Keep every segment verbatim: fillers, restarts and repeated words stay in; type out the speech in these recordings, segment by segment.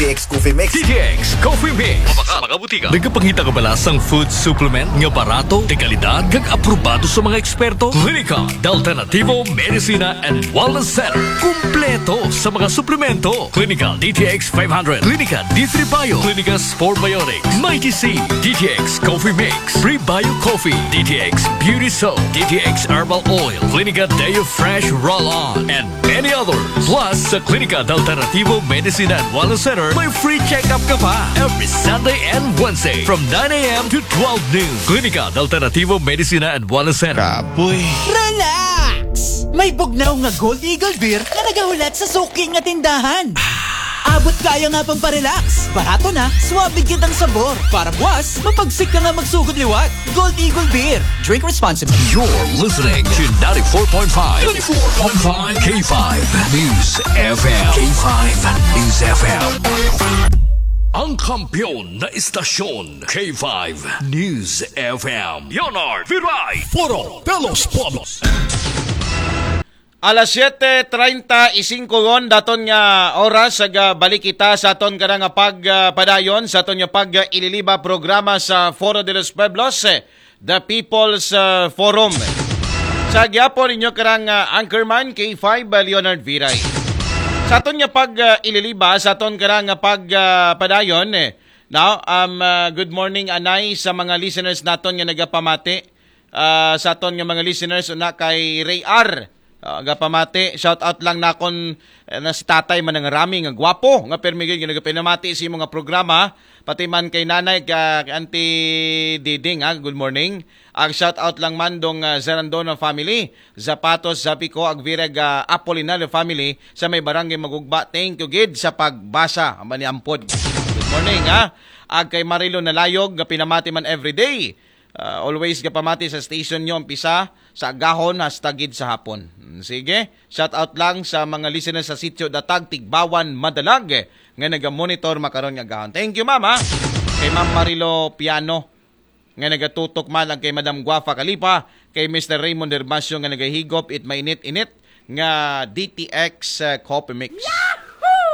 T X Coffee Mix. D T X Coffee Mix. Sa mga butika. Nagapangita ka ba sa food supplement nga barato, de kalidad, kag aprobado sa mga eksperto? Klinika de Alternativo Medicina and Wellness Center. Kumpleto sa mga suplemento. Klinika D T X five hundred, Klinika D three Bio, Klinika Sport Biotics, Mighty C, D T X Coffee Mix, Prebio Coffee, D T X Beauty Soap, D T X Herbal Oil, Klinika Deo Fresh Roll-On, and many others. Plus, sa Klinika de Alternativo Medicina and Wellness Center, may free check-up ka pa every Sunday and Wednesday from nine a.m. to twelve noon. Klinika de Alternativo Medicina and Wellness Center. Kapoy. Relax! May bugnaw nga Gold Eagle Beer nga nagahulat sa suki nga tindahan. Abot kaya nga pamparelax. Barato na, suabe gyud ang sabor. Para buwas, mapagsik ka nga magsugod liwat. Gold Eagle Beer. Drink responsibly. You're listening to ninety-four point five, ninety-four point five K five News F M. K five News F M. Ang kampiyon na istasyon, K five News F M. Leonard Viray. Foro de los Pueblos. Alas siete treinta y cinco gon daton nga oras, ag balik kita sa aton kana nga pagpadayon sa aton nga pag-ililiba programa sa Foro de los Pueblos, eh, The People's, uh, Forum. Sa gyapon ninyo karang, uh, anchorman, K five, uh, Leonard Viray. Sa aton nga pag-ililiba sa aton karang nga pagpadayon, eh, now, um, uh, good morning anay sa mga listeners naton nga nagapamati. Ah, sa aton nga mga listeners, una kay Ray R. Ah, gapamati, shout out lang nakon, eh, na si Tatay Manangarami nga gwapo nga permi gyud nga nagapinamati sa imo nga programa, pati man kay Nanay, ka Auntie Diding, ha, good morning. Ag shout out lang man dong, ah, Zarandona family, Zapatos, Zapico, Agvirag, ah, Apolinario family sa may barangay Magugba. Thank you gid sa pagbasa, maniampod. Good morning, ha. Ag kay Marilo Nalayog nga pinamati man everyday. Ah, always gapamati sa station nyo, umpisa sa agahon hasta gid sa hapon. Mm, sige, shout out lang sa mga listeners sa Sitio Datag, Tigbawan, Madalag, eh, nga naga-monitor makaron nga agahon. Thank you, ma'am, ha? Kay Ma'am Marilo Piano, nga nagatutok man, ang kay Madam Guafa Kalipa, kay Mister Raymond Herbacio nga nagahigop it mainit-init nga D T X, uh, Coffee Mix.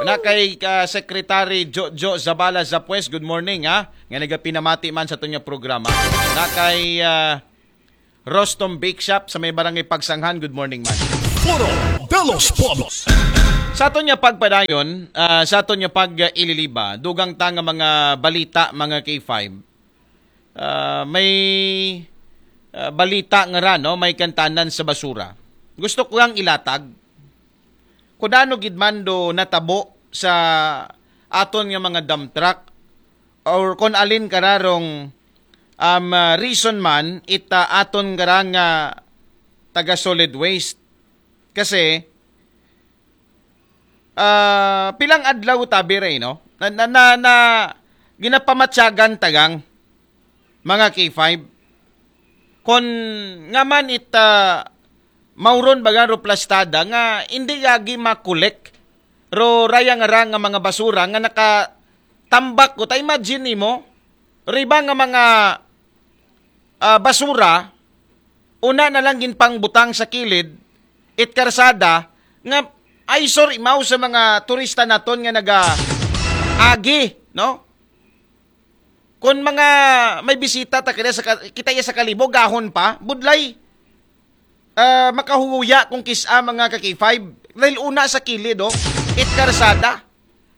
Na kay, uh, Secretary Jojo Zabala Zapues, good morning, ha, nga nagapinamati man sa aton nga programa. Na kay, uh, Rostom Bake Shop sa may barangay Pagsanghan, good morning man. Foro de los Pueblos. Sa aton nga pagpadayon, uh, sa aton nga pag-ililiba, dugang ta nga mga balita, mga K five. Ah, may, ah, balita nga ra, no, may kantanan sa basura. Gusto ko ang ilatag. Kung ano gid man do natabo sa aton nga mga dump truck or kung alin kararong, um, ah, reason man ita aton karang nga taga solid waste. Kasi, ah, pilang adlaw tabi ray, no? Na, na, na, na ginapamatyagan tagang mga K five. Kon nga man it, ah, mauron baga ro plastada nga hindi yagi makolek ro raya nga ra nga mga basura nga nakatambak ko. Ta imagine nimo, riba nga mga, ah, basura, una na lang ginpangbutang sa kilid, it karsada, nga eyesore imaw sa mga turista naton nga naga agi, no? Kung mga may bisita ta kaya sa ka- kita iya sa Kalibo, gahon pa, budlay, ah, makahuya kung kisa mga ka K five. Dahil una sa kilid, oh, it karsada.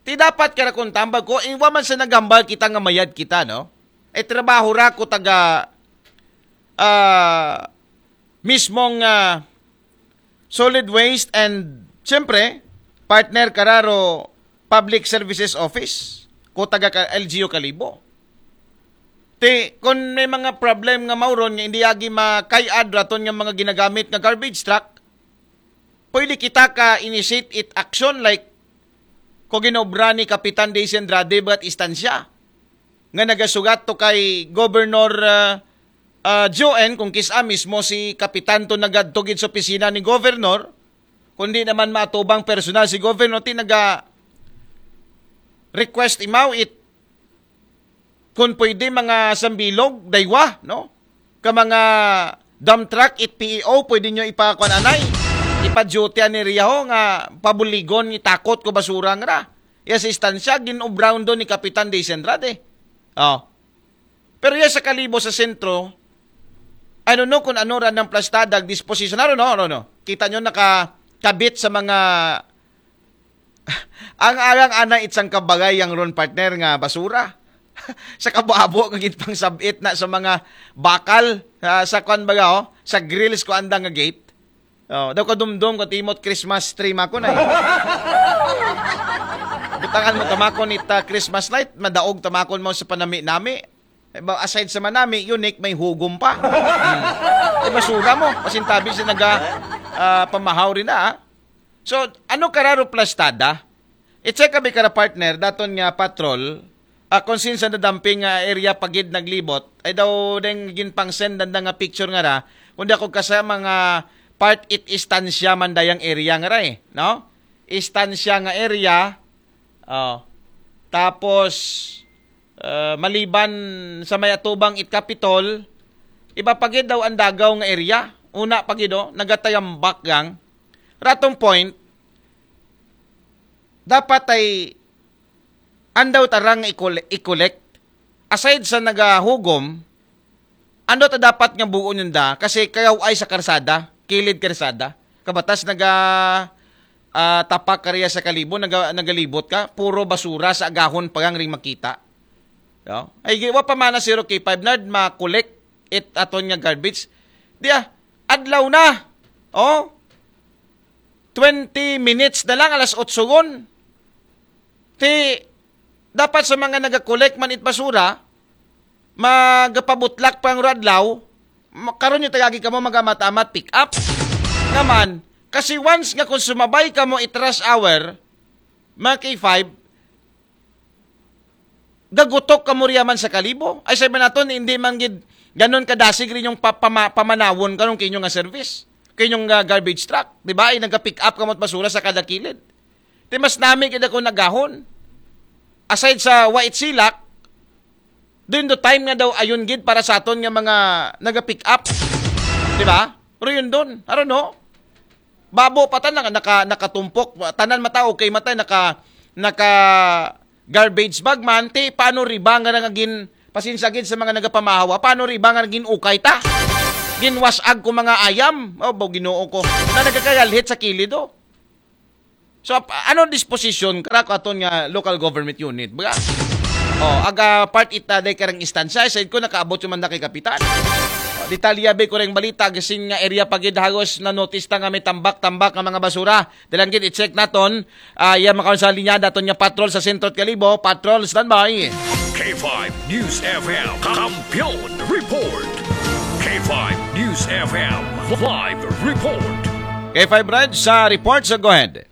Ti dapat kara kung tambag ko, eh, wa man sa naghambal kita nga mayad kita, no? Eh, trabaho ra ko taga, ah, mismong, ah, solid waste and, siyempre, partner kararo Public Services Office, ko taga ka L G U Kalibo. Ti, kung may mga problem nga mauron nga hindi agi makayad raton nga mga ginagamit nga garbage truck, pwede kita ka initiate it action like ko ginobra ni Kapitan Daisy Andrade ba't istansya nga nagasugat to kay Governor, ah, ah, Joen, kung kisa mismo si Kapitan to nagadto gid sa opisina ni Governor, kundi naman matubang personal si Governor, ti naga request imaw it kung pwede mga sambilog, daywa, no? Ka mga dump truck, it P E O, pwede nyo ipakuan anay. Ipa-duty ani riyaho nga pabuligon ni takot ko basura nga ra. Iya sa istansya, gin-obra ron ni Kapitan Daysenrad eh. Oh. Pero iya sa Kalibo sa sentro, I don't know kung ano ra nang plastada, disposition, I don't know, I don't know. Kita nyo nakakabit sa mga, ang arang ana itsang kabagay yang ron, partner, nga basura. Sa kabo-abo nga ginpangsabit na sa mga bakal, ah, sa kwan baga, oh, sa grills ko andang nga gate. Oh, daw kadumdum ko timot Christmas tree mako na eh. Butangan mo tamakon ita Christmas light, madaog tamakon mo sa panami-nami. Eh, ba, aside sa manami, unique, may hugom pa. Hmm. Eh, basura mo. Pasintabi sa naga, ah, pamahaw rin na, ah. So, ano kararo plastada? I-check kami kara partner, daton nga patrol, ah, kung since na dumping, ah, area pagid naglibot, ay daw deng ginpang-send danda nga picture nga ra, kundi ako kasama nga part it istansya man dayang area nga ra eh, no? Istansya nga area, oh. Tapos, ah, maliban sa may atubang it Capitol, iba pagid daw ang dagaw nga area. Una pagid, oh, nagatayambak gang. Ratong point, dapat ay andaw tarang ikole-, i-collect. Aside sa nagahugom, ando ta dapat nga buon yun da, kasi kayaw ay sa karsada, kilid karsada. Kabatas naga, ah, tapak kariya sa Kalibo, naga, nagalibot ka, puro basura sa agahon pagang ring makita. No? Ay, gi-, wa pa mana zero K five nard, ma-collect it aton nga garbage. Diya, adlaw na. Oh? Twenty minutes na lang, alas otso gon. Ti, dapat sa mga nagakolek man it basura, magapabutlak pa ang adlaw, ma-, karon yung tagagi kamo magamat-amat pick up. Naman, kasi once nga kung sumabay kamo it rush hour, mga K five, gagutok kamo riya man sa Kalibo. Ay, sabi naton, hindi man gid ganon kadasig rin yung pa-, pama-, pamanawon karon kinyo nga service, kinyong, ah, garbage truck, di ba? Ay, nagka-pick up kamo basura sa kada kilid. Ti mas nami gid ako nagahon. Aside sa wa it silak, during the time nga daw ayun gid para sa aton nga mga naga-pick up. Di ba? Pero yun dun, I don't know. Babo pa ta na, naka, nakatumpok, tanan mata, okay mata, naka, naka garbage bag man, ti, paano riba nga nagagin, pasensya gid sa mga nagapamahawa, paano riba nga nagin ukay ta? Ginwasag ko mga ayam. Oh, bo, Ginoo ko. Na nagkakayalhit sa kilid, oh. So, ap-, ano disposition kara ko aton nga local government unit? Baga, oh, aga part ita day karang istansya, said ko, nakaabot yung manda kay kapitan. Oh, detalye, be, ko rin balita, gasin nga area pagid hagos na notice ta nga may tambak-tambak nga mga basura. Dalan gid, i-check naton. Ah, iya, makaon sa linya, daton niya patrol sa Sentro at Kalibo. Patrol, standby. K five News F M, Kampiyon Report. K five News F M, live report. K five Red sa report, so go ahead.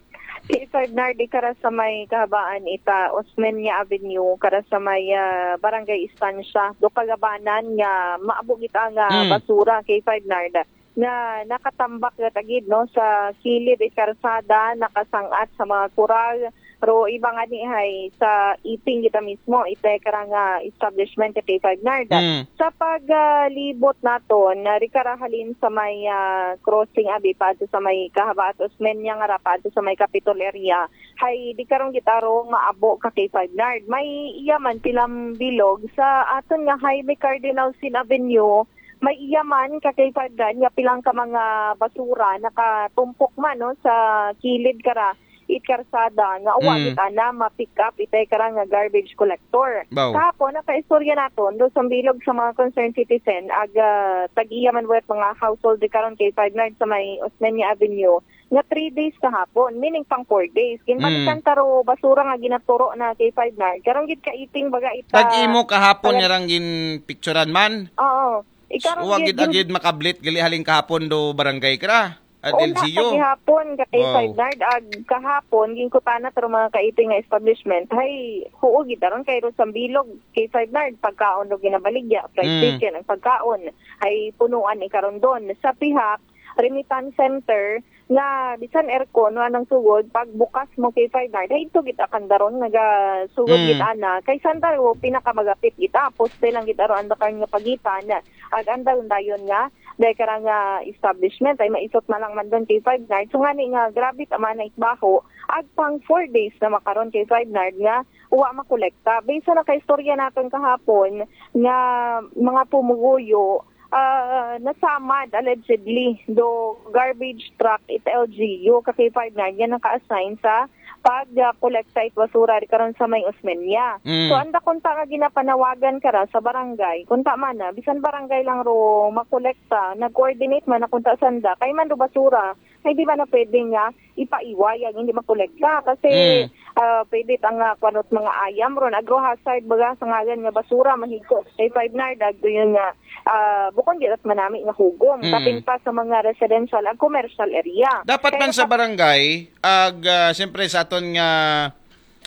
K five Nard, kara sa may kahabaan ita Osmeña Avenue, kara sa may, ah, Barangay Estancia, do kagabanan nga maabog ita nga Hmm. basura, K five Nard, nga nakatambak na tagid, no, sa kilid it karsada, nakasangat sa mga kural, pero iba nga ni hay sa iping kita mismo, ita karang, ah, establishment ka K five Nard. Hmm. Sa paglibot naton, na rikara halin sa may, ah, crossing abi pa ato sa may kahabaat Osmeña nga ra pa ato sa may Capitol area, hay di karong gitaro maabo ka K five Nard. May iya man pilang bilog sa aton nga highway Cardinal Sin Avenue, may iya man ka K five Nard nga pilang ka mga basura nakatumpok man, no, sa kilid kara it karsada nga uwa Mm. gid ana ma-pick up itay karang nga garbage collector. Baw. Kahapon, nakaistorya naton do sa bilog sa mga concerned citizen, aga tag-iya man wet mga household di karon K five Nard sa may Osmeña Avenue, nga three days kahapon, meaning pang four days. Ginbalikan Mm. taro basura nga ginaturo na K five Nard. Karon gid kaiting baga ita Tag-imo kahapon pala- nga rang ginpicturan man. Oo. Ikaron Wa gid gid, gid makablit gali halin kahapon do barangay kara. At Una, L G U. Kagihapon, ka K five Wow. Nard, ag kahapon, ginkutana taro mga kaiting nga establishment. Hay, huo gid aron kay ro sa bilog, K five Nard, pagkaon do ginabaligya, fried Hmm. chicken, ang pagkaon. Hay punuan ikaron don. Sa pihak, remittance center, nga bisan aircon, no, anang sugod, pag bukas mo kay five nard, ay ito gid akan daron, nagasugod Mm. gid ana. Kay sanda ro, pinakamagapit gid, ah, poste lang gid aro ang dakar nga pagitan. Ag andal dayon nga, dahil karang nga establishment, ay maisot na lang man doon kay five nard. So nga ni nga, grabe tama na itbaho, ag pang four days na makaron kay five nard nga, uwa makolekta. Based sa nakaistorya natin kahapon, nga mga pumuguyo, ah, nasamad allegedly do garbage truck it L G U ka kay five nard nga naka-assign sa pag-collect sa it basura di karon sa may Osmeña. Mm. So anda kunta nga ginapanawagan kara sa barangay, kunta man na bisan barangay lang ro makolekta, nag-coordinate man na kunta sanda kay man do basura, ay di ba na pwede nga ipaiway ang hindi makolekta kasi Mm. ah, pwede ta nga kwanot mga ayam ron, agro hazard baga sa ngalan nga basura, mahigko kay five nard, agdo yun nga, ah, bukon di rat manami nga hugom, Mm. kapin pa sa mga residential ag commercial area. Dapat Kaya man sa pa- barangay, ag ah, siyempre sa aton nga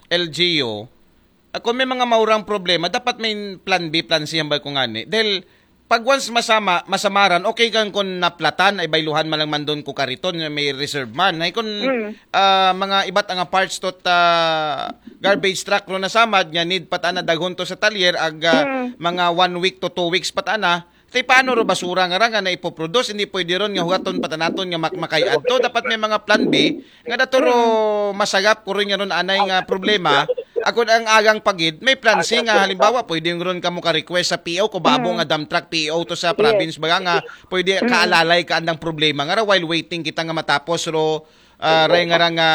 L G U, ah, kung may mga maurang problema, dapat may plan B, plan C hambal ko ngani. Dahil pag once masama, masamaran, okay kan kung naplatan, ay bayluhan man lang man doon ko kariton, may reserve man. Ay kung Mm. ah, mga iba't nga parts tot ah, garbage truck ro nasamad, nga need patana daghon to sa talyer, ag ah, Mm. mga one week to two weeks patana, tay paano ro basura nga ra nga naipoproduce, hindi pwede ron nga hugaton patanaton nga mak makayad to. Dapat may mga plan B, nga dato ro masagap ko rin nga ron anay nga problema. Ako ang agang pagid, may plan C nga halimbawa, pwede yung ron kamo ka-request sa P O, kung babo Mm. nga dump truck P O to sa Yes. province, baga nga, pwede kaalalay ka andang problema nga ra while waiting kita nga matapos ro, ah, ray nga ra nga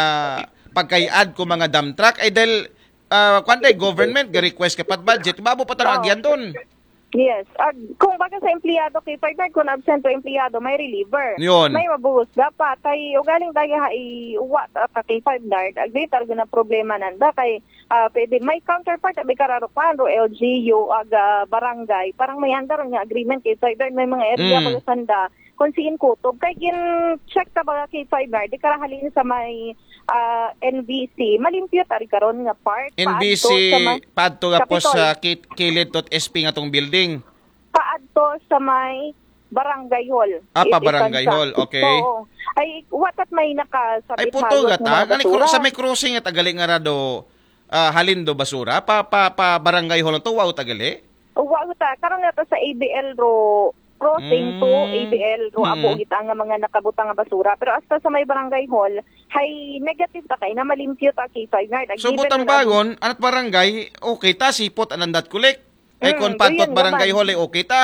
pagkayad ko mga dump truck. Ay dahil, ah, kwan day, government, ga-request ka pat budget, babo pa tang Oo. agyan doon. Yes. Ag, kung baga sa empleyado kay five nard, kung absent o empleyado, may reliever. Yun. May mabuhos dapat. Ay, ugaling daya ha, i-, uwa ta ka kay five nard. Ag, di talaga na problema nanda. Kay, ah, pwede, may counterpart, abi kararo kwan, ro L G U, ag, ah, barangay. Parang may andar nga agreement kay five nard. May mga area Mm. baga sanda. Kung siin kutob. Kay gin-check ta baga kay five nard, di karahalin sa may, ah, N B C. Malimpyo tari karon nga part. N B C, Paadto sa may paadto nga po Kapitol. sa kit- kilid tot S P nga tong building. Paadto sa may barangay hall. Ah, pa It is barangay sa- hall, okay. Oo. Ay, watat may nakasabit Ay, puto halot gata. nga mga Gani kru- basura. sa may crossing at agali nga ra do, ah, halin do basura. Pa, pa, pa barangay hall to, wow, tagali. Wa ta, karon nga to sa A B L ro crossing to Mm. A B L ro abo Mm. gita nga mga nakabutang nga basura. Pero hasta sa may barangay hall, hay negative ta kay na malimpyo ta kay five nard. So, Ag-, given butang na bagon, anat barangay, okay ta, sipot, anandat kulik. Ay, Mm, kung patot yun barangay naman. hall, ay okay ta.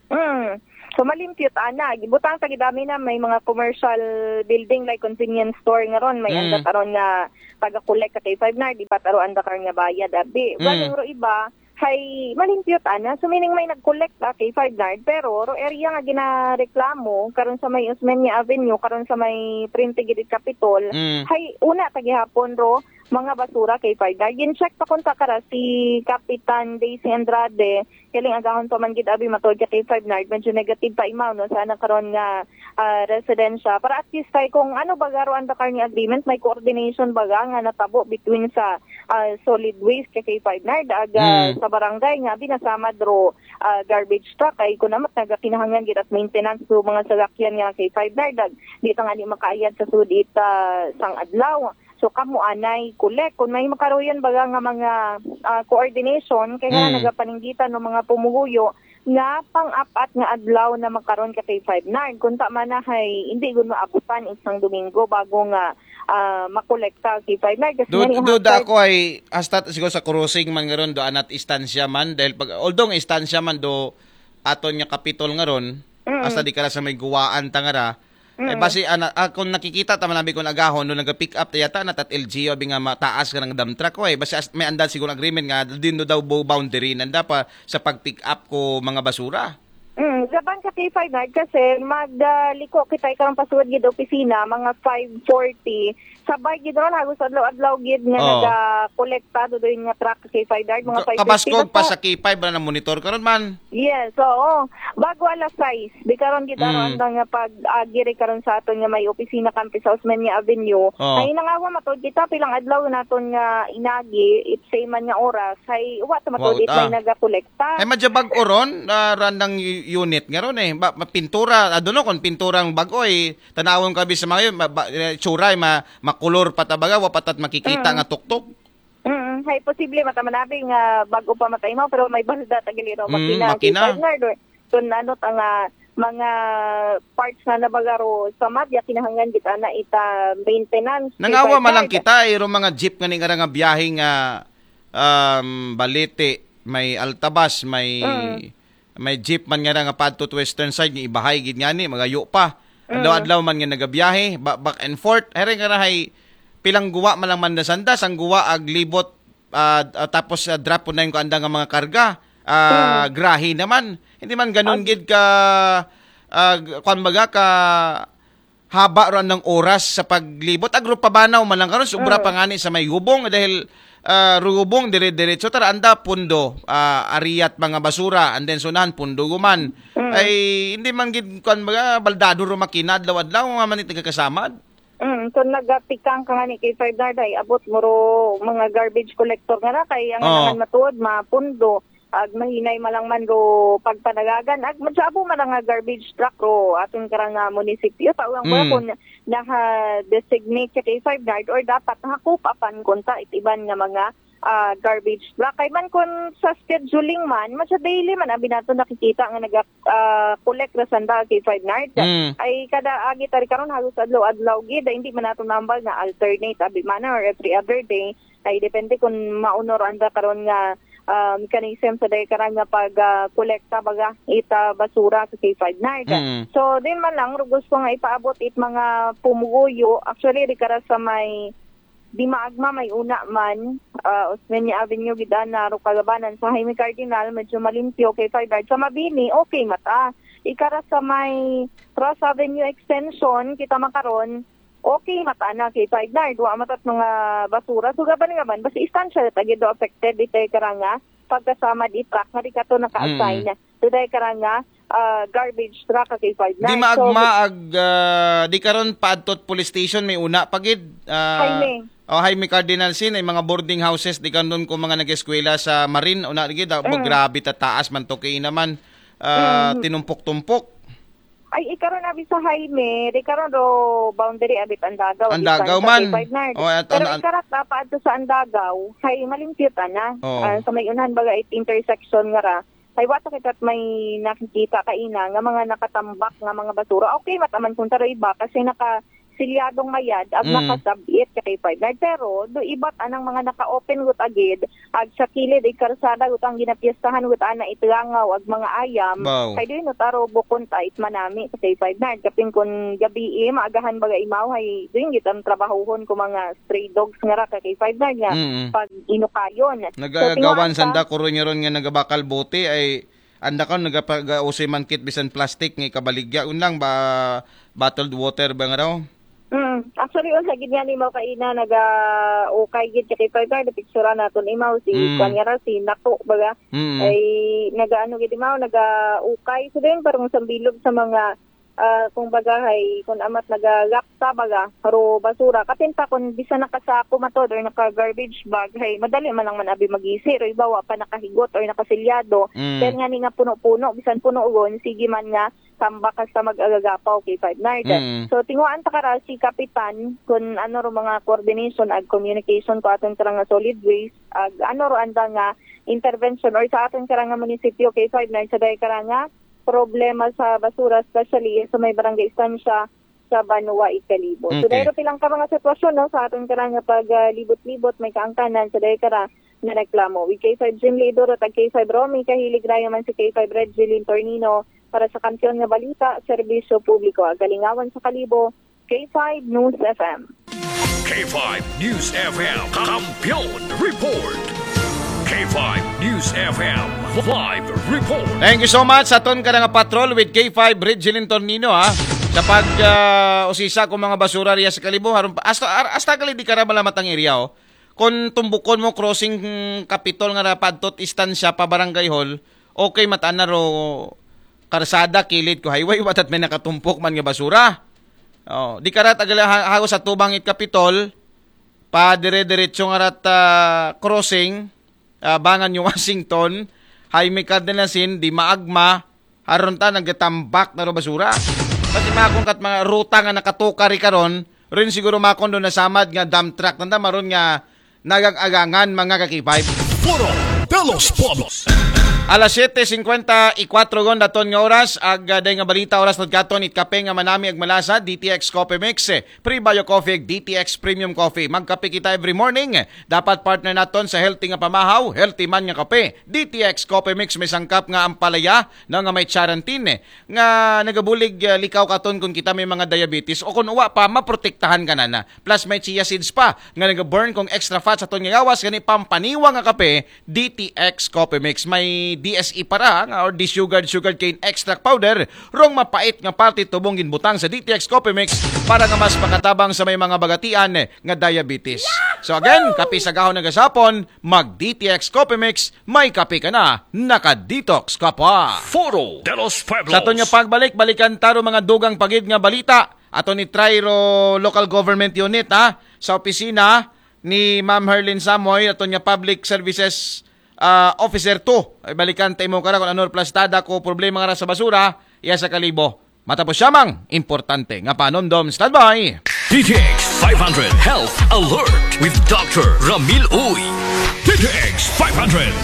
Mm. So, malimpyo ta na. Gibutang ta gidami na may mga commercial building like convenience store nga ron. May Mm. anda karon nga taga-collect ka kay five nard, di ba taro anda karon nga bayad, abi. Mm. Galing ro iba, hay malimpyo ta na. So, meaning may nag-collect ka kay five nard, pero ro area nga ginareklamo, karon sa may Osmeña Avenue, karon sa may Trinity Gidit Capitol, Mm. hay una ta gihapon ro, mga basura kay five nard. Gin-check pa kunta kara si Kapitan Daisy Andrade, kaling agahon pa man gid abi matod ka kay five nard, medyo negative pa imaw, no, sana karon nga ah, residensya. Para at least kay kung ano baga ro ang Dakar ni agreement, may coordination baga nga natabo between sa ah, solid waste kay kay five nard, aga Mm. sa barangay nga binasamad ro ah, garbage truck ay kunamat nagakinahanglan gid at maintenance so mga salakyan nga kay five nard, ag di ta nga ni makaayad sa sudit ah, sang adlaw. So kamo anay collect kung may makaroyon baga nga mga ah, coordination kay nga Mm. nagapaninggitan ng mga pumuguyo nga pang-apat nga adlaw na makaron ka kay five nard. Kung ta man na hay, hindi gud maabutan isang Domingo bago nga ah, makolekta kay five nard. Kasi Do, nga ni do hangtod- da ako ay hasta siguro sa crossing man ngaron do anat istansya man dahil pag although nga istansya man do aton nga kapitol ngaron Mm. hasta di ka ra sa may guwaan tangara. Eh, Mm. basi ana, ah, kung nakikita ta man abi kung agahon no naga-pick up ta yata na tat L G U abi nga mataas ka ng dump truck ko eh. Basi as, may anda siguro agreement nga din do daw bo- boundary nanda pa sa pag-pick up ko mga basura. Mm, gaban ka kay five nard kasi magliko kita karong pasuod gid opisina mga five forty. Sabay gid ron hagos adlaw-adlaw gid nga Oh. naga-kolekta do doon nga truck kay five nard mga Ka- five kabaskog fifty pa na sa K five na monitor karon man. Yes, oo. Bago alas sais, di karon gid Mm. aron nga pag-agi ri karon sa aton nga may opisina kampi sa Osmeña Avenue. Oh. Ay nangawa matod kita pilang adlaw naton nga inagi, it same man nga oras. Ay wa ta matod Wow, it may ah. nagakolekta. Ay madya bag-o ron, ah, randang unit. nga ron eh. Ba, ma-, pintura, I don't know kung pinturang bago eh. Tanawon ka bi sa mga yun, ma-, ba, eh, tsura eh, ma-, makulor pa tabaga, wa pa tat makikita Mm. nga tuktok. Mm, hay posible mata man abi nga bago pa mata imaw pero may balda ta gali ro Mm, makina, makina. Partner, do. Kun ano ta nga mga parts na nabagaro sa madya kinahanglan kita na ita maintenance. Nangawa man lang Partner. Kita, iro mga jeep nga ni nga biyahe nga um, Balete, may Altabas, may Mm. may jeep man nga nga padto to western side nga ibahay gid ngani, magayo pa. Adlaw-adlaw man nga nagabiyahe, ba- back and forth. Here nga rahay pilang guwa man lang man nasanda, sang guwa ag libot ah, ah, tapos ah, drop po na yung kaanda nga mga karga. Ah, grahe naman. Hindi man ganun gid ka ah, g- kwan baga ka haba ro ang oras sa paglibot. Agro pabanaw man lang karon, sobra pa ngani sa may gubong dahil ah, rugubong dire-diretso tara anda pundo ah, ariyat mga basura and then sunahan pundo guman. Ay hindi man gid kwan baga baldado ro makina adlaw-adlaw nga man it nagakasamad. Mm, so nagatikang ka nga ni kay Five Nard ay abot mo ro mga garbage collector nga na kay ang Oo. naman matuod mapundo ag mahinay man lang man ro pagpanagagan ag magsabo man lang nga garbage truck ro aton karang nga munisipyo tawag ba Mm. kung naha designate siya kay Five Nard or dapat nakakup apan kunta itiban nga mga ah, garbage truck kay man kun sa scheduling man man sa daily man abi nato nakikita nga naga ah, collect ra sanda kay Five Nard Mm. ay kada agi tari karon halos adlaw-adlaw gid ay hindi man nato nambal na alternate abi man or every other day ay depende kung mauno ra anda karon nga ah, mechanism sa day karon nga pag ah, kolekta baga ita basura sa kay Five Nard. Mm. So din man lang ro gusto nga ipaabot it mga pumuguyo actually di kara sa may di maagma may una man uh, Osmeña Avenue gid ana ro kalabanan sa Jaime Cardinal medyo malimpyo kay Five Nard sa Mabini okay mata ikara sa may Ross Avenue extension kita makaron okay mata na kay Five Nard wa matat mga basura so gaban gaban basta istansya ta gid do affected itay karanga pagkasama di truck nga di kato naka-assign today karanga ah, garbage truck kay Five Nard. Di maagma ag ah, di karon paadtot police station may una pa gid. Ah, Jaime. Oh, Jaime Cardinal Sin ay mga boarding houses di karon ko mga nag-eskwela sa Marin una gid ah, Mm. grabe ta taas man to kay naman ah, tinumpok-tumpok. Ay, ikaron abi sa Jaime, di karon do boundary abit Andagaw. Andagaw man. Oh, at- Pero an- an- ikarat na pa adto sa Andagaw, hay malimpyo ta na. Oo. Ah, sa may unahan baga it intersection nga ra, hay wa ta kita may nakikita kaina nga mga nakatambak nga mga basura. Okay, mataman kung taro iba kasi naka silyadong mayad ag Mm. nakasabit ka kay Five Nine. Pero do ibat anang mga naka-open gut agid ag sa kilid ig karsada gut ang ginapiestahan gut ana itlangaw ag mga ayam Baw. Kay do no taro bukon ta it manami ka kay Five Nine. Kapin kun gabi eh, maagahan baga imaw hay doon git ang trabahuhon ko mga stray dogs nga ra ka kay Five Nine nga Mm. pag inukayon. Nagagawan sanda kuron nga ron nga nagabakal bote ay anda ka nagapag-usoy man kit bisan plastic nga ikabaligya un lang ba bottled water ba nga raw? Mm. Actually, on lagi nga ni Mau kaina naga ukay gid kay Five Nine picture naton imaw si Mm. Kwan nga ra si Nako baga Mm. ay nagaano gid imaw naga ukay so din parang sambilog sa mga ah, kung baga hay kung amat nagalapta baga ro basura kapin pa kung bisan nakasako matod or naka garbage bag hay madali man lang man abi magisi ro ibawa pa nakahigot or nakasilyado Mm. Pero nga ni nga puno-puno bisan puno ugon sige man nga tambak hasta mag-agagapaw kay Five Nine. Mm. So tinguhaan ta kara si Kapitan kun ano ro mga coordination ag communication ko aton kara nga solid waste ag ano ro anda nga intervention or sa aton kara nga munisipyo kay Five Nine sa day kara nga problema sa basura especially sa may barangay Estancia sa Banwa Ikalibo. So Okay. dahil pilang ka mga sitwasyon no sa aton kara nga pag ah, libot-libot may kaangkanan sa day kara nga reklamo. With K five Jim Lidor at K five Romy Kahilig Rayo man si K five Red Jilin Tornino para sa Kampiyon nga Balita, Serbisyo Publiko, Agalingawan sa Kalibo, K five News F M. K five News F M Kampiyon Report. K five News F M Live Report. Thank you so much sa aton ka nga patrol with K five Red Jilin Tornino ha. Sa pag ah, usisa ko mga basura riya sa Kalibo, haron pa, hasta ar- hasta gali di ka ra malamat ang area oh. Kung tumbukon mo crossing hmm, Kapitol nga ra padtot istansya pa Barangay Hall, okay mata na ro karsada kilid ko highway watat may nakatumpok man nga basura. Oh, di ka ra tagala ha- hagos sa tubang it Kapitol pa dire-diretso nga rat ah, crossing ah, bangan yung Washington, Jaime Cardenasin, di maagma, Aron ta nagatambak na ro basura. Kasi makon kat mga ruta nga nakatuka ri karon, rin siguro makon do nasamad nga dump truck nanda maron nga nagag-agangan mga ka-K five. Foro de los Pueblos. Alas siyete singkwenta y kwatro gon daton nga oras, ag, ah, day nga balita oras nagkaton it kape nga manami ag malasa, D T X Coffee Mix, eh, Pre-Bio Coffee, D T X Premium Coffee. Magkape kita every morning. Dapat partner naton sa healthy nga pamahaw, healthy man nga kape. D T X Coffee Mix may sangkap nga ampalaya, no, nga may charantin, eh, nga nagabulig, ah, likaw katon kung kita may mga diabetes o kung uwa pa, maprotektahan ka na na. Plus may chia seeds pa nga nag-burn kung extra fat sa aton nga gawas, gani pampaniwa nga kape, D T X Coffee Mix. May D S E para nga or desugared sugarcane extract powder, rong mapait nga parte tubong ginbutang sa D T X Coffee Mix para nga mas makatabang sa may mga bagatian nga diabetes. So again, kape sa gahon nga gasapon, mag D T X Coffee Mix, may kape ka na, naka-detox ka pa. Foro de los Pueblos. Sa aton nga pagbalik, balikan taro mga dugang pagid nga balita. Ato ni Trairo Local Government Unit, ha, sa opisina ni Ma'am Herlin Samoy, aton nga Public Services, ah, Officer two. Ay, balikan ta imo kara kung ano plastada ko problema nga sa basura, iya sa kalibo. Matapos siya mang importante nga panumdom. Standby. D T X five hundred Health Alert with Doctor Ramil Uy. D T X five hundred.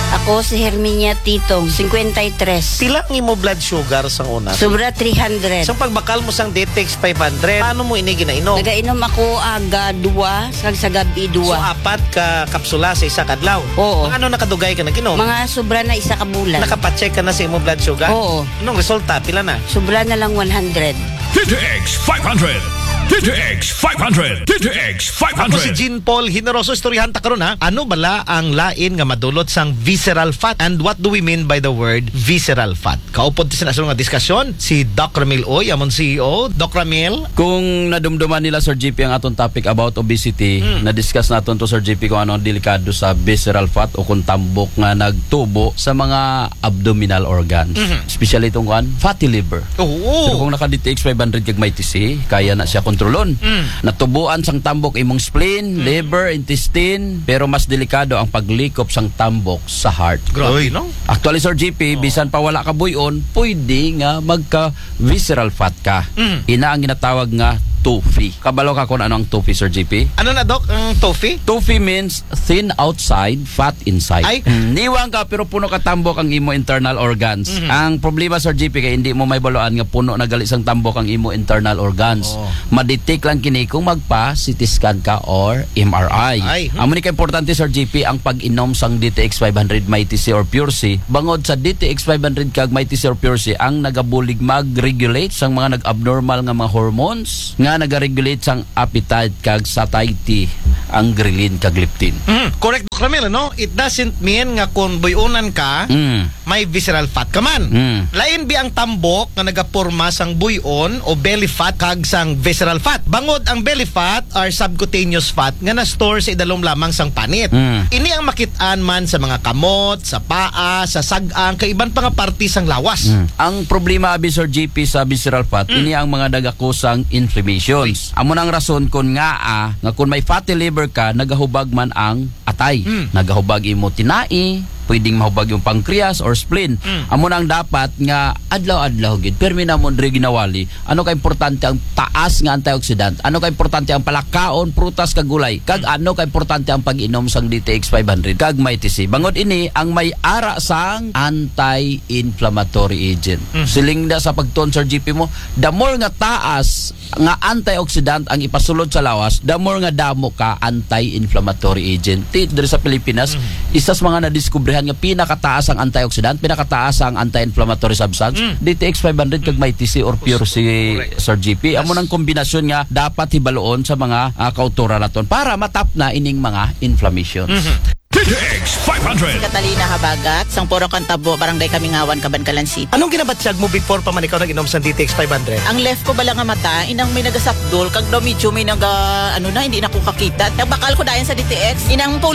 Ako si Herminia Titong, fifty-three. Pila ang imo blood sugar sa una? Sobra three hundred. Sa pagbakal mo sang D T X five hundred, paano mo ini ginainom? Nagainom ako aga dua, sa, sa gabi So, dua. Apat ka kapsula sa isa ka adlaw. Oo. Mga ano nakadugay ka nag-inom? Mga sobra na isa ka bulan. Nakapacheck ka na sa imong blood sugar? Oo. Anong resulta? Pila na? Sobra na lang one hundred. D T X five hundred. D T X five hundred. D T X Ako si five hundred. Jean Paul Generoso. Istoryahan ta karon, ha. Ano bala ang lain nga madulot sang visceral fat? And what do we mean by the word visceral fat? Kaupod sa nasunod nga diskusyon, si Doc Ramil Uy, amon C E O. Doc Ramil? Kung nadumduman nila, Sir G P, ang atong topic about obesity, na-discuss naton to, Sir G P, kung ano ang delikado sa visceral fat o kung tambok nga nagtubo sa mga abdominal organs. Especially itong kuan, fatty liver. Oo. Pero kung naka D T X five hundred kag may T C, kaya na siya kontrolon. Natubuan sang tambok imong spleen, liver, intestine, pero mas delikado ang paglikop sang tambok sa heart. Grabe, Uy. No? Actually, Sir G P, bisan pa wala ka buyon, pwede nga magka visceral fat ka. Ina ang ginatawag nga TOFI. Kabalo ka kung ano ang TOFI, Sir G P? Ano na, Doc, ang TOFI? TOFI means thin outside, fat inside. Ay. Mm, niwang ka pero puno ka tambok ang imo internal organs. Ang problema, Sir G P, kay hindi mo may baloan nga puno na gali sang tambok ang imo internal organs. Oh. Ma-detect lang kini kung magpa C T scan ka or M R I. Ay. Amo ni ka importante, Sir G P, ang pag-inom sang D T X five hundred Mighty C or Pure C. Bangod sa D T X five hundred kag Mighty C or Pure C ang nagabulig mag-regulate sang mga nag-abnormal nga mga hormones nga nagaregulate sang appetite kag satiety, ang ghrelin kag leptin. Mm, correct, Doc Ramil, no? It doesn't mean nga kung buyonan ka, Mm. may visceral fat ka man. Mm. Lain bi ang tambok nga nagaporma sang buyon o belly fat kag sang visceral fat. Bangod ang belly fat are subcutaneous fat nga na-store sa idalom lamang sang panit. Mm. Ini ang makit-an man sa mga kamot, sa paa, sa sag-ang, kag iban pa nga parte sang lawas. Mm. Ang problema abi, Sir G P, sa visceral fat, ini ang mga nagakusang inflammations. Amo nang rason kun nga, ah, nga kun may fatty liver ka, nagahubag man ang atay. Mm. Nagahubag imo tinai, pwedeng mahubag yung pancreas or spleen. Amo nang dapat nga adlaw-adlaw gid, permi namon diri ginawali. Ano ka importante ang taas nga antioxidant? Ano ka importante ang palakaon, prutas kag gulay? Kag ano ka importante ang pag-inom sang D T X five hundred kag Mighty C? Bangod ini ang may ara sang anti-inflammatory agent. Siling na sa pagtuon, Sir G P, mo, the more nga taas nga antioxidant ang ipasulod sa lawas, the more nga damo ka anti-inflammatory agent. Ti diri sa Pilipinas, isa sa mga nadiskubrihan nga pinakataas ang antioxidant, pinakataas ang anti-inflammatory substance, D T X five hundred kag Mighty C or Pure C, Sir G P. Amo nang kombinasyon nga dapat hibaloon sa mga, ah, kauturan naton para matap na ining mga inflammations. D T X five hundred. Catalina Habagat, sang Puro Kantabo, Barangay Kamingawan, Kabankalan City. Anong ginabatyag mo before pa man ikaw nag-inom sa D T X five hundred? Ang left ko bala nga mata, inang may nagasapdol, kag daw medyo may naga, ano na, hindi na ko kakita. Nagbakal ko dayon sa D T X, inang